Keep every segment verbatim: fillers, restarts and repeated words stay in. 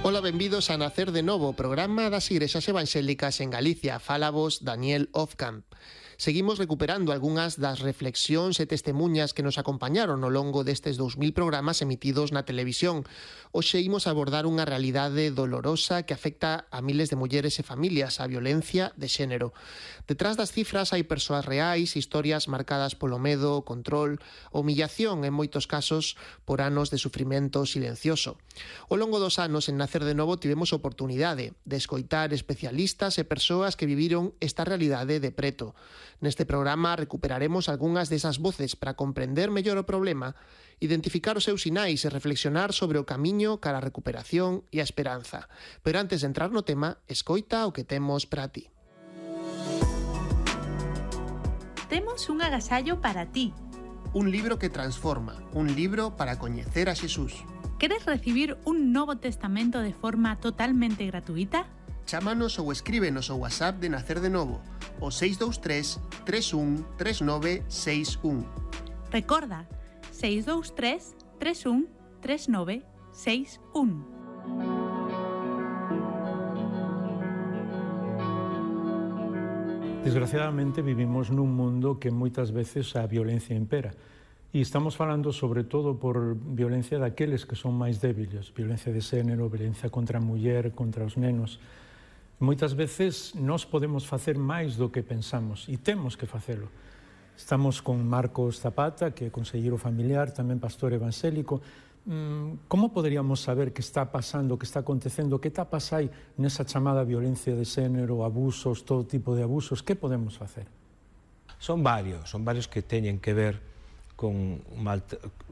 Ola, benvidos a Nacer de Novo, programa das Igrexas Evangélicas en Galicia. Fala vos Daniel Ofcamp. Seguimos recuperando algunhas das reflexións e testemunhas que nos acompañaron ao longo destes dous mil programas emitidos na televisión. Hoxe imos abordar unha realidade dolorosa que afecta a miles de mulleres e familias, a violencia de xénero. Detrás das cifras hai persoas reais, historias marcadas polo medo, o control, a humillación, en moitos casos por anos de sufrimento silencioso. Ao longo dos anos en Nacer de Novo tivemos oportunidade de escoitar especialistas e persoas que viviron esta realidade de preto. Neste programa recuperaremos algunhas desas voces para comprender mellor o problema, identificar os seus sinais e reflexionar sobre o camiño cara a recuperación e a esperanza. Pero antes de entrar no tema, escoita o que temos para ti. Temos un agasallo para ti. Un libro que transforma, un libro para coñecer a Xesús. Queres recibir un Novo Testamento de forma totalmente gratuita? Chámanos ou escríbenos ao WhatsApp de Nacer de Novo, o seis dous tres, tres un, tres nove seis un. Recorda, seis dous tres, tres un, tres nove seis un. Desgraciadamente vivimos nun mundo que moitas veces a violencia impera. E estamos falando sobre todo por violencia daqueles que son máis débiles, violencia de xénero, violencia contra a muller, contra os nenos. Moitas veces nós podemos facer máis do que pensamos e temos que facelo. Estamos con Marcos Zapata, que é conselleiro familiar, tamén pastor evangélico. Como poderíamos saber que está pasando, que está acontecendo, que está pasando nesa chamada violencia de xénero, abusos, todo tipo de abusos? Que podemos facer? Son varios, son varios que teñen que ver con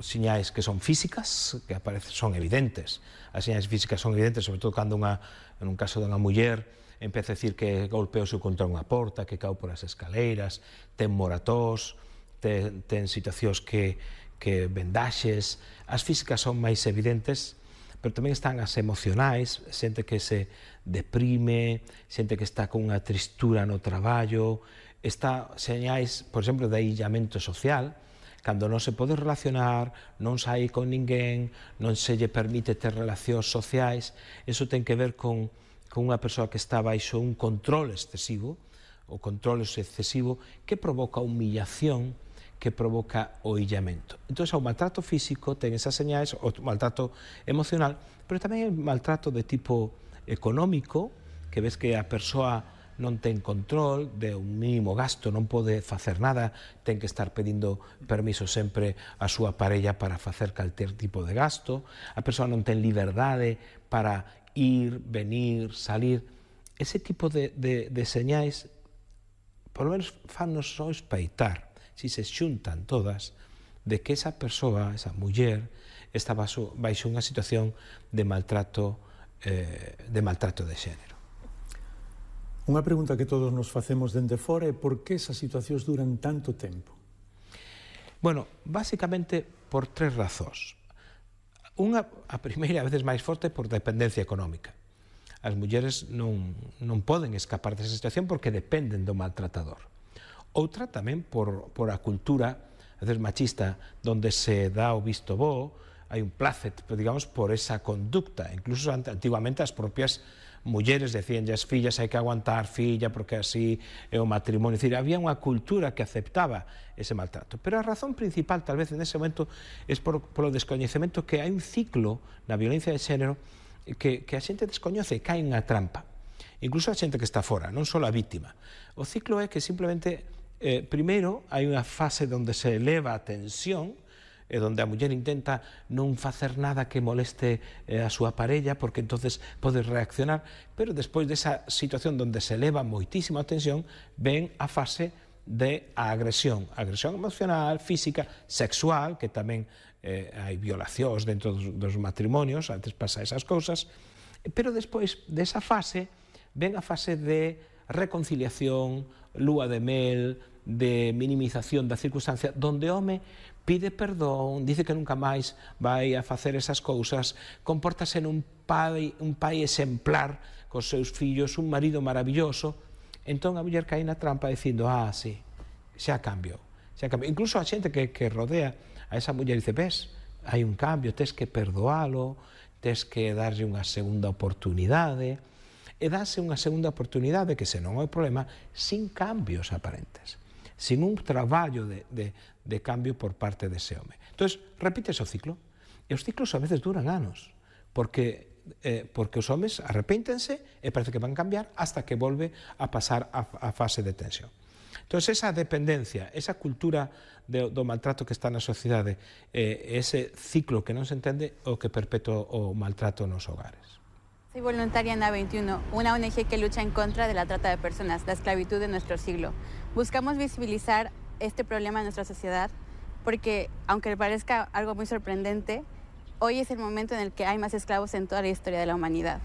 señais que son físicas, que aparecen, son evidentes. As señais físicas son evidentes, sobre todo cando unha, en un caso dunha muller empeza a decir que golpeouse contra unha porta, que cau por as escaleiras, ten moratós, ten, ten situacións que, que vendaxes. As físicas son máis evidentes, pero tamén están as emocionais, xente que se deprime, xente que está con unha tristura no traballo, está señais, por exemplo, de aillamento social, cando non se pode relacionar, non sai con ninguén, non se lle permite ter relacións sociais. Eso ten que ver con, con unha persoa que está baixo un control excesivo, o control excesivo que provoca humillación, que provoca o illamento. Entón, o maltrato físico ten esas señais, o maltrato emocional, pero tamén o maltrato de tipo económico, que ves que a persoa non ten control de un mínimo gasto, non pode facer nada, ten que estar pedindo permiso sempre a súa parella para facer calquer tipo de gasto, a persoa non ten liberdade para ir, venir, salir. Ese tipo de, de, de señais, por lo menos fannos só espaitar, si se xuntan todas, de que esa persoa, esa muller, está baixo, baixo unha situación de maltrato, eh, de maltrato de xénero. Unha pregunta que todos nos facemos dende fora é por que esas situacións duran tanto tempo? Bueno, basicamente por tres razóns. Unha, a primeira, a veces máis forte, por dependencia económica. As mulleres non, non poden escapar desa situación porque dependen do maltratador. Outra tamén por, por a cultura, a veces machista, donde se dá o visto bo, hai un placet, digamos, por esa conducta. Incluso antiguamente as propias mulleres decían as fillas hai que aguantar filla porque así é o matrimonio, é dicir, había unha cultura que aceptaba ese maltrato, pero a razón principal tal vez en ese momento é por, polo descoñecemento que hai un ciclo na violencia de xénero que, que a xente descoñece e cae unha trampa, incluso a xente que está fora, non só a vítima. O ciclo é que simplemente eh, primeiro hai unha fase onde se eleva a tensión e donde a muller intenta non facer nada que moleste eh, a súa parella, porque entonces pode reaccionar, pero despois desa situación onde se eleva moitísima a tensión, ven a fase de a agresión, agresión emocional, física, sexual, que tamén eh, hai violacións dentro dos, dos matrimonios, antes pasa esas cousas, pero despois desa fase, ven a fase de reconciliación, lúa de mel, de minimización da circunstancia, donde o home pide perdón, dice que nunca máis vai a facer esas cousas, compórtase nun pai, un pai exemplar cos seus fillos, un marido maravilloso. Entón a muller cae na trampa dicindo, ah, sí, xa cambiou, xa cambiou. Incluso a xente que, que rodea a esa muller dice, ves, hai un cambio, tes que perdoalo, tes que darlle unha segunda oportunidade, e dáse unha segunda oportunidade que, se non é o problema, sin cambios aparentes, sin un traballo de, de, de cambio por parte dese home. Entón, repítese o ciclo, e os ciclos a veces duran anos, porque, eh, porque os homes arrepéntense e parece que van cambiar hasta que volve a pasar a, a fase de tensión. Entón, esa dependencia, esa cultura de, do maltrato que está na sociedade, eh, ese ciclo que non se entende, o que perpetúa o maltrato nos hogares. Soy voluntaria en A veintiuno, una O N G que lucha en contra de la trata de personas, la esclavitud de nuestro siglo. Buscamos visibilizar este problema en nuestra sociedad porque, aunque parezca algo muy sorprendente, hoy es el momento en el que hay más esclavos en toda la historia de la humanidad.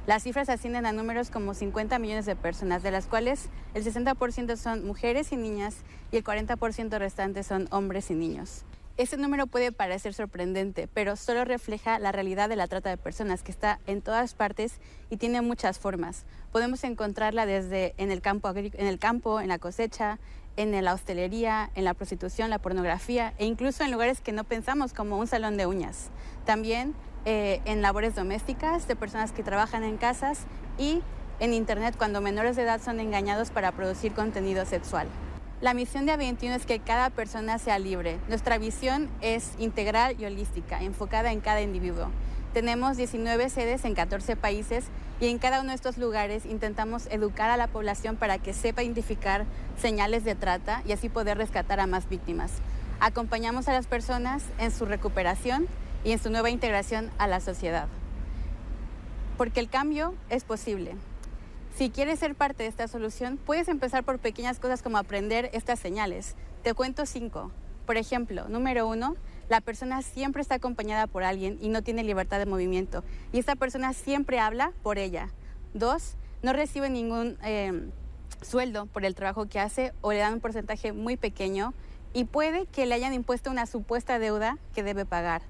Las cifras ascienden a números como cincuenta millones de personas, de las cuales el sesenta por ciento son mujeres y niñas y el cuarenta por ciento restante son hombres y niños. Este número puede parecer sorprendente, pero solo refleja la realidad de la trata de personas, que está en todas partes y tiene muchas formas. Podemos encontrarla desde en el campo, en el campo, en la cosecha, en la hostelería, en la prostitución, la pornografía e incluso en lugares que no pensamos, como un salón de uñas. También eh, en labores domésticas de personas que trabajan en casas y en internet cuando menores de edad son engañados para producir contenido sexual. La misión de A veintiuno es que cada persona sea libre. Nuestra visión es integral y holística, enfocada en cada individuo. Tenemos diecinueve sedes en catorce países y en cada uno de estos lugares intentamos educar a la población para que sepa identificar señales de trata y así poder rescatar a más víctimas. Acompañamos a las personas en su recuperación y en su nueva integración a la sociedad. Porque el cambio es posible. Si quieres ser parte de esta solución, puedes empezar por pequeñas cosas como aprender estas señales. Te cuento cinco. Por ejemplo, número uno, la persona siempre está acompañada por alguien y no tiene libertad de movimiento. Y esta persona siempre habla por ella. Dos, no recibe ningún eh, sueldo por el trabajo que hace o le dan un porcentaje muy pequeño y puede que le hayan impuesto una supuesta deuda que debe pagar.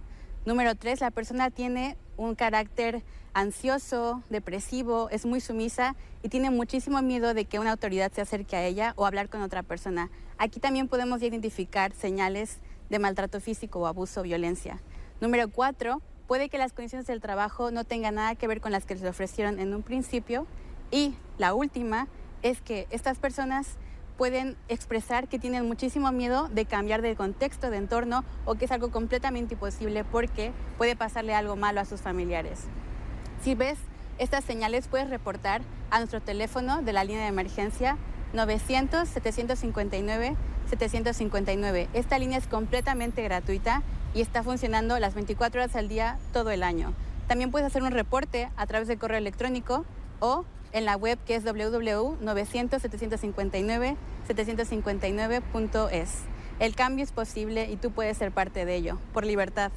Número tres, la persona tiene un carácter ansioso, depresivo, es muy sumisa y tiene muchísimo miedo de que una autoridad se acerque a ella o hablar con otra persona. Aquí también podemos identificar señales de maltrato físico o abuso o violencia. Número cuatro, puede que las condiciones del trabajo no tengan nada que ver con las que les ofrecieron en un principio. Y la última es que estas personas pueden expresar que tienen muchísimo miedo de cambiar de contexto, de entorno, o que es algo completamente imposible porque puede pasarle algo malo a sus familiares. Si ves estas señales, puedes reportar a nuestro teléfono de la línea de emergencia novecientos, setecientos cincuenta y nueve, setecientos cincuenta y nueve. Esta línea es completamente gratuita y está funcionando las veinticuatro horas al día todo el año. También puedes hacer un reporte a través de correo electrónico o en la web, que es doble u doble u doble u punto novecientos, setecientos cincuenta y nueve, setecientos cincuenta y nueve punto es. El cambio es posible y tú puedes ser parte de ello, por libertad.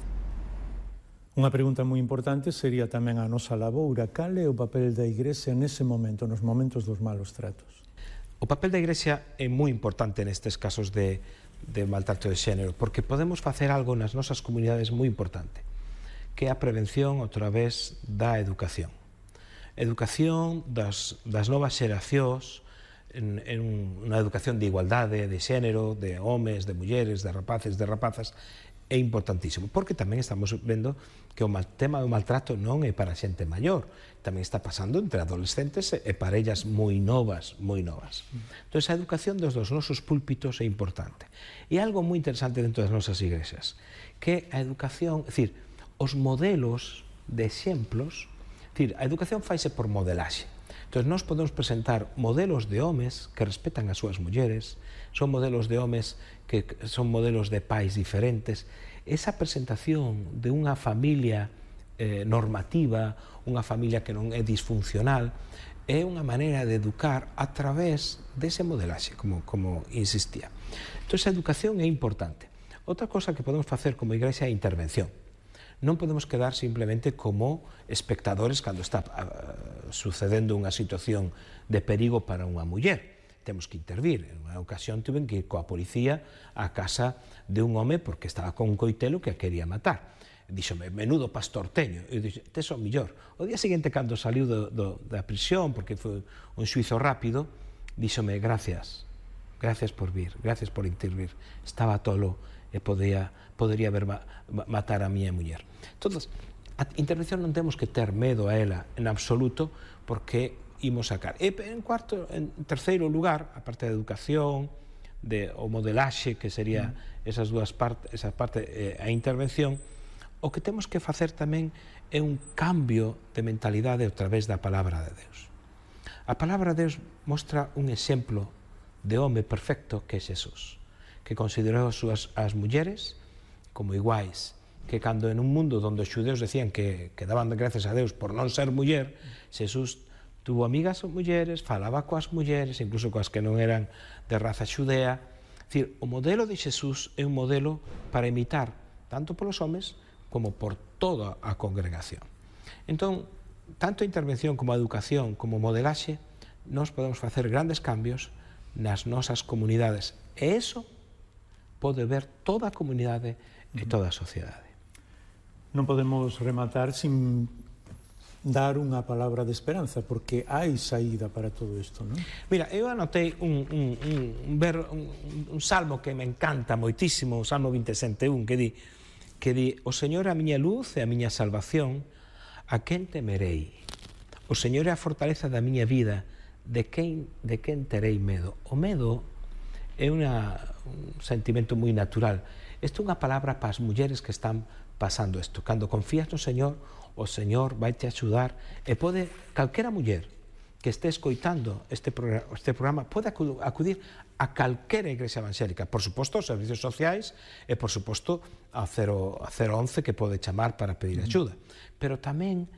Unha pregunta moi importante sería tamén a nosa laboura. Cal é o papel da Igrexa nese momento, nos momentos dos malos tratos? O papel da Igrexa é moi importante nestes casos de, de maltrato de xénero, porque podemos facer algo nas nosas comunidades moi importante, que é a prevención a través da educación. Educación das, das novas xeracións, en, en unha educación de igualdade, de xénero, de homes, de mulleres, de rapaces, de rapazas, é importantísimo, porque tamén estamos vendo que o mal, tema do maltrato non é para xente maior, tamén está pasando entre adolescentes e parellas moi novas, moi novas. Entón, a educación dos, dos nosos púlpitos é importante. E algo moi interesante dentro das nosas igrexas, que a educación, é dicir, os modelos de exemplos, é dicir, a educación faise por modelaxe. Entón, nós podemos presentar modelos de homes que respetan as súas mulleres, son modelos de homes que son modelos de pais diferentes. Esa presentación de unha familia eh, normativa, unha familia que non é disfuncional, é unha maneira de educar a través dese modelaxe, como, como insistía. Entón, esa educación é importante. Outra cosa que podemos facer como igrexa é a intervención. Non podemos quedar simplemente como espectadores cando está uh, sucedendo unha situación de perigo para unha muller. Temos que intervir. En unha ocasión tuven que ir coa policía á casa de un home porque estaba con un coitelo que a quería matar. Díxome, menudo pastorteño. Eu dixo, tes o millor. O día seguinte, cando saliu do, do, da prisión, porque foi un xuizo rápido, díxome, gracias, gracias por vir, gracias por intervir. Estaba tolo e podía, podería haber ma, matar a miña muller. Entón, A intervención non temos que ter medo a ela en absoluto, porque imos sacar. E en cuarto, en terceiro lugar, a parte da educación, de, o modelaxe, que sería esas dúas partes, esa parte, eh, a intervención, o que temos que facer tamén é un cambio de mentalidade a través da palabra de Deus. A palabra de Deus mostra un exemplo de home perfecto que é Xesús, que considerou as, súas, as mulleres como iguais, que cando en un mundo onde os xudeus decían que, que daban gracias a Deus por non ser muller, Xesús tuvo amigas mulleres, falaba coas mulleres, incluso coas que non eran de raza xudea. É dicir, o modelo de Xesús é un modelo para imitar tanto polos homes como por toda a congregación. Entón, tanto a intervención como a educación, como modelaxe, nós podemos facer grandes cambios nas nosas comunidades. E iso pode ver toda a comunidade e toda a sociedade. Non podemos rematar sin dar unha palabra de esperanza, porque hai saída para todo isto, non? Mira, eu anotei un, un, un, un, ver, un, un salmo que me encanta moitísimo, o Salmo veintesete un, que di, que di, o Señor é a miña luz e a miña salvación, a quen temerei? O Señor é a fortaleza da miña vida, de quen, de quen terei medo? O medo é una, un sentimento moi natural. Isto é unha palabra para as mulleres que están pasando isto. Cando confías no Señor, o Señor vai te axudar, e pode, calquera muller que este escoitando este programa, este programa pode acudir a calquera igrexa evangélica, por suposto aos servicios sociais e por suposto a cero once que pode chamar para pedir axuda, pero tamén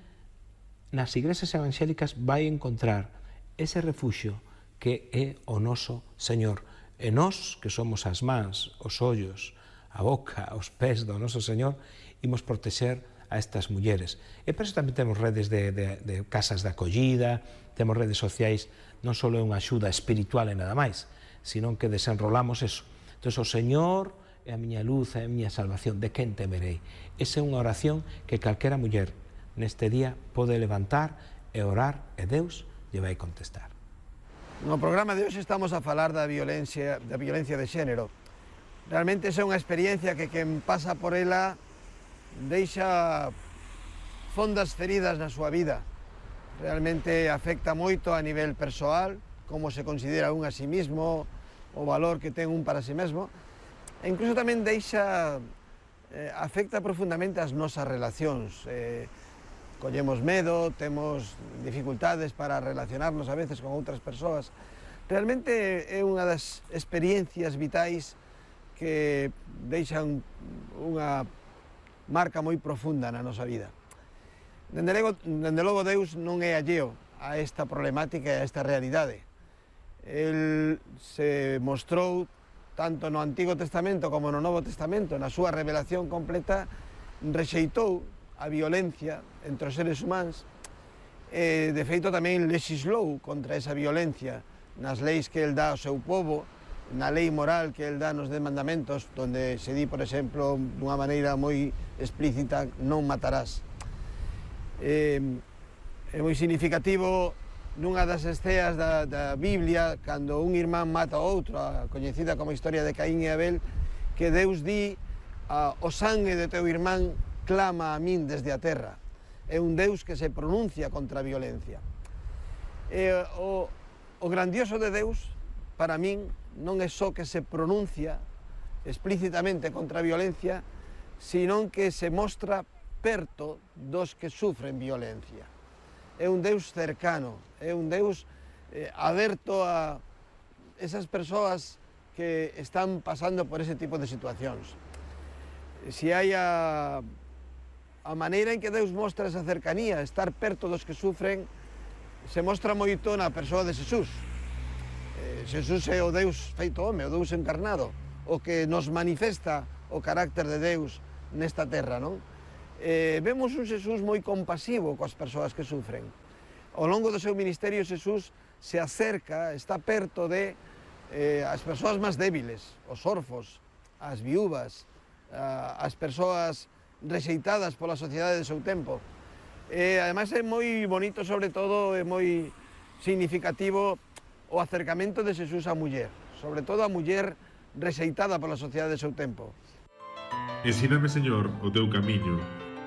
nas igrexas evangélicas vai encontrar ese refuxio que é o noso Señor, e nós que somos as mans, os ollos, a boca, os pés do noso Señor, imos protexer a estas mulleres. E por eso tamén temos redes de, de, de casas de acollida, temos redes sociais, non só é unha axuda espiritual e nada máis, sino que desenrolamos eso. Entón, o Señor é a miña luz, é a miña salvación, de quen temerei? Esa é unha oración que calquera muller neste día pode levantar e orar, e Deus lle vai contestar. No programa de hoxe estamos a falar da violencia, da violencia de xénero. Realmente esa é unha experiencia que quen pasa por ela deixa fondas feridas na súa vida. Realmente afecta moito a nivel persoal, como se considera un a sí mismo, o valor que ten un para sí mesmo, e incluso tamén deixa, eh, afecta profundamente as nosas relacións. Eh, collemos medo, temos dificultades para relacionarnos a veces con outras persoas. Realmente é unha das experiencias vitais que deixan unha marca moi profunda na nosa vida. Dende logo, dende logo Deus non é alleo a esta problemática e a esta realidade. El se mostrou tanto no Antigo Testamento como no Novo Testamento, na súa revelación completa, rexeitou a violencia entre os seres humanos, e de feito tamén lexislou contra esa violencia nas leis que el dá ao seu povo, na lei moral que el dá nos dez mandamentos, onde se di, por exemplo, dunha maneira moi explícita, non matarás. É, é moi significativo nunha das esceas da, da Biblia, cando un irmán mata a outro, a coñecida como historia de Caín e Abel, que Deus di, a, o sangue de teu irmán clama a min desde a terra. É un Deus que se pronuncia contra a violencia. E o, o grandioso de Deus, para min, non é só que se pronuncia explícitamente contra a violencia, sino que se mostra perto dos que sufren violencia. É un Deus cercano, é un Deus eh, aberto a esas persoas que están pasando por ese tipo de situacións. Se hai a, a maneira en que Deus mostra esa cercanía, estar perto dos que sufren, se mostra moito na persoa de Xesús. Eh, Xesús é o Deus feito home, o Deus encarnado, o que nos manifesta o carácter de Deus nesta terra, non? Eh, vemos un Xesús moi compasivo coas persoas que sufren. Ao longo do seu ministerio, Xesús se acerca, está perto de eh, as persoas máis débiles, os orfos, as viúvas, as persoas rexeitadas pola sociedade do seu tempo. E, ademais, é moi bonito, sobre todo, é moi significativo o acercamento de Xesús á muller, sobre todo a muller rexeitada pola sociedade do seu tempo. Ensíname, Señor, o teu camiño,